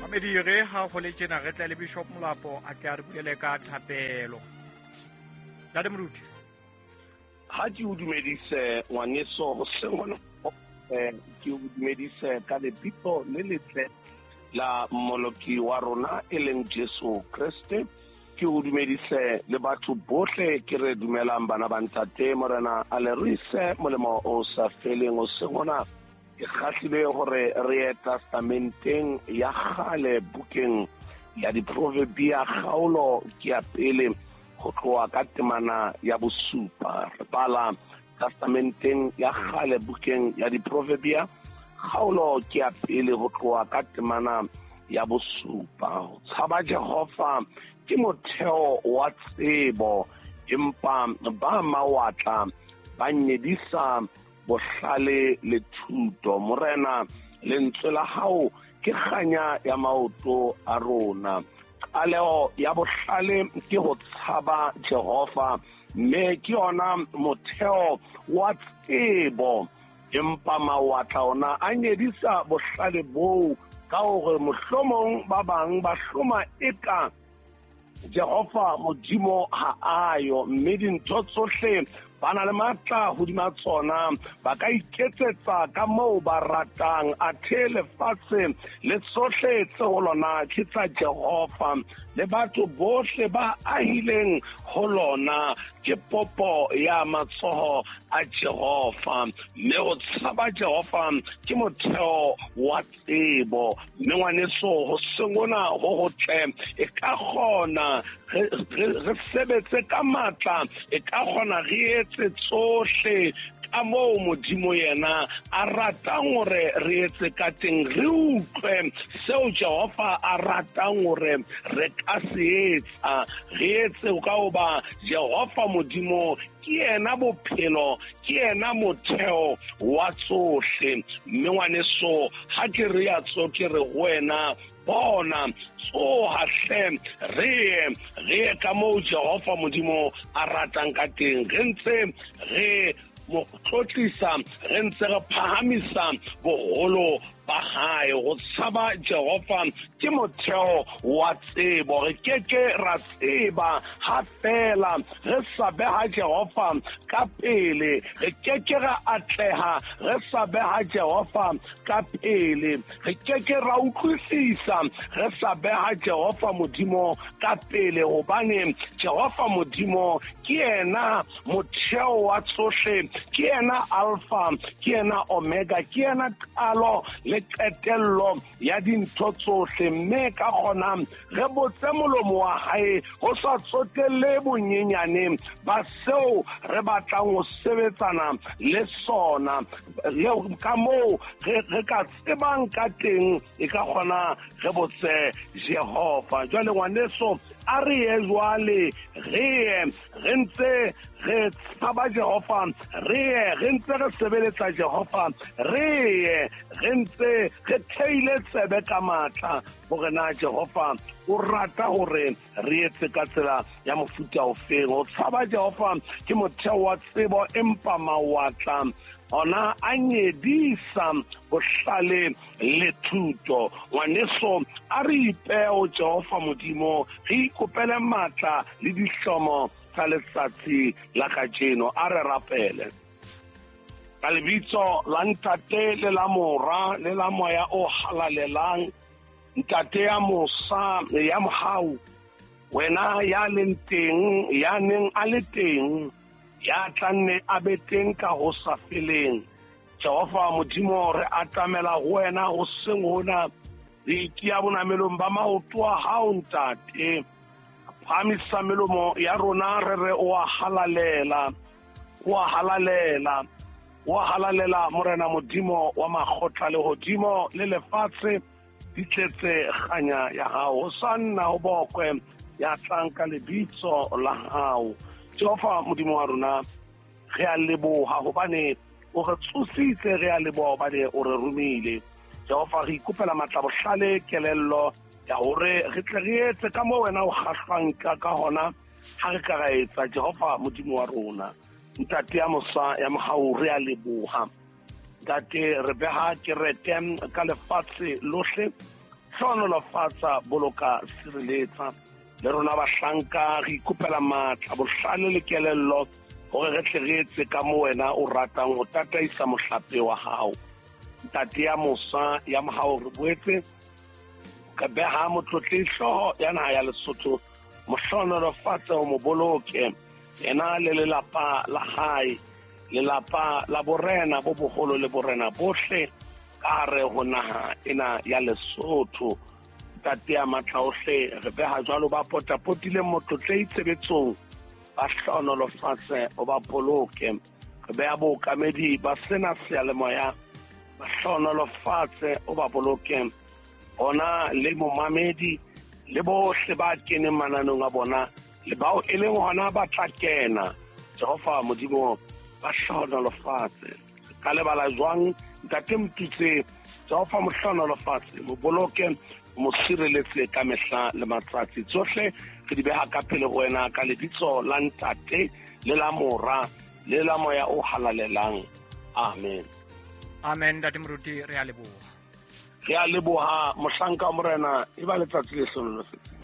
Mamedi re ha go le tjena re tla le Bishop Molapo a tle a re bulele ka thapelo. Ntate Moruti. Ha ke o dumedise ngwaneso hoseng hona, ke o dumedise ka lebitso le letle la Mmoloki wa rona e leng Jesu Kreste. Ke o dumedise le batho bohle ke re dumelang bana ba ntate. Morena a le ruise molemo o sa feleng. Hoseng hona ke kgahlile hore re ye testamenteng ya kgale, bukeng ya Diproverbia, kgaolo ke ya pele ho tloha ka temana ya bosupa. Re bala testamenteng ya kgale, bukeng ya Diproverbia, kgaolo ke ya pele ho tloha ka temana ya bosupa. Ho tshaba Jehova ke motheo wa tsebo, empa ba mawatla ba nyedisa bohlale le thuto. Morena, lentswe la hao ke kganya ya maoto a rona. Qaleho ya bohlale ke ho tshaba Jehova, mme ke yona motheo wa tsebo, empa mawatla ona a nyedisa bohlale boo ka hore mohlomong ba bang ba hloma eka Jehova Modimo ha ayo, mme dintho tsohle ba na le matla hodima tsona, ba ka iketsetsa ka moo ba ratang. Athe lefatshe le tsohle tse ho lona ke tsa Jehova, le batho bohle ba ahileng ho lona ke popo ya matsoho a Jehova. Mme ho tshaba Jehova ke motheo wa tsebo. Mme ngwaneso, ho sengona ho hotle, e ka kgona re sebetse ka matla, e ka kgona re etse tsohle ka moo Modimo yena a ratang hore re etse ka teng, re utlwe seo Jehova a ratang hore re ka se etsa, re etse ka hoba Jehova Modimo ke yena bophelo, ke yena motheo wa tsohle. Mme ngwaneso, ha ke re ya tso, ke re ho wena, bona, tsoha hle, re ye, re ye ka moo Jehova Modimo a ratang ka teng, re ntse re mo tlotlisa, re ntse re phahamisa boholo ba hae. Ho tshaba Jehova ke motheo wa tsebo. Re ke ke ra tseba ha fela re sa beha Jehova ka pele. Re ke ke ra atleha re sa beha Jehova ka pele. Re ke ke ra utlwisisa re sa beha Jehova Modimo ka pele, hobane Jehova Modimo ke yena motheo wa tsohle, ke yena Alpha, ke yena Omega, ke yena qalo le qetello ya dintho tsohle. Mme ka kgona re botse molomo wa hae ho sa tsotelle bonyenyane ba seo re batlang ho sebetsana le sona, le ka moo re ka tsebang ka teng, e ka kgona re botse Jehova. Jwale ngwaneso, a re ye jwale, re ye re ntse re tshaba Jehova, re ye re ntse re sebeletsa Jehova, re ye re ntse re theile tsebe ka matla hore na Jehova o rata hore re etse ka tsela ya mofuta ofeng. Ho tshaba Jehova ke motheo wa tsebo, empa mawatla ona a nyedisa bohlale le thuto. Ngwaneso, a re ipeo Jehova Modimo, re ikopele matla le dihlomo tsa letsatsi la kajeno. A re rapele. Ka lebitso la Ntate le la Mora le la Moya o Halalelang, Ntate ya mosa ya mohau, wena ya leng teng, ya neng a le teng, ya tla nne a be teng ka ho sa feleng, Jehova Modimo, re atamela ho wena hoseng hona, re itia bonamelong ba maoto a hao, Ntate. Phahamisa melomo ya rona, re re o a halalela, o a halalela, o a halalela, Morena Modimo wa makgotla. Lehodimo le lefatshe di tletse kganya ya hao. Ho sa nna ho bokwe ya tlang ka lebitso la hao. Jehova Modimo wa rona, re a leboha hobane o re tsositse, re a leboha hobane o re romile. Jehova, re ikopela matla, bohlale, kelello ya hore re tle re etse ka moo wena o kgahlwang ka hona. Ha re ka ra etsa, Jehova Modimo wa rona, Ntate ya mosa ya mohau, re a leboha. Ntate, re beha kereke ka lefatshe lohle. Hlohonolofatsa, boloka, sireletsa. Le rona bahlanka re ikopela matla, bohlale le kelello hore re tle re etse ka mo wena o ratang ho tataisa mohlape wa hao. Ntate ya mosa ya mohau, re boetse re beha motlotlehi hlooho ya naha ya Lesotho, mo hlohonolofatse, o mo boloke, yena le lelapa la hae, lelapa la borena bo boholo le borena bohle ka hare ho naha ena ya Lesotho. Ntate ya matla ohle, re beha jwalo ba potapotileng motlotlehi tshebetsong, ba hlohonolofatse, o ba boloke. Re beha bookamedi ba sena seyalemoya, ba hlohonolofatse, o ba boloke, bona le momamedi le bohle ba keneng mananeng a bona le bao e leng hona ba tla kena. Jehova Modimo, ba hlohonolofatse. Ka lebala jwang Ntate Motutse? Jehova mo hlohonolofatse, mo boloke, mo sireletse ka mehla le matsatsi. Tsohle re di beha ka pele ho wena ka lebitso la Ntate le la Mora le la Moya o Halalelang. Amen. Amen. Ntate Moruti, re a leboha. Re a leboha, mohlanka wa Morena. E ba letsatsi le hlohonolofetseng.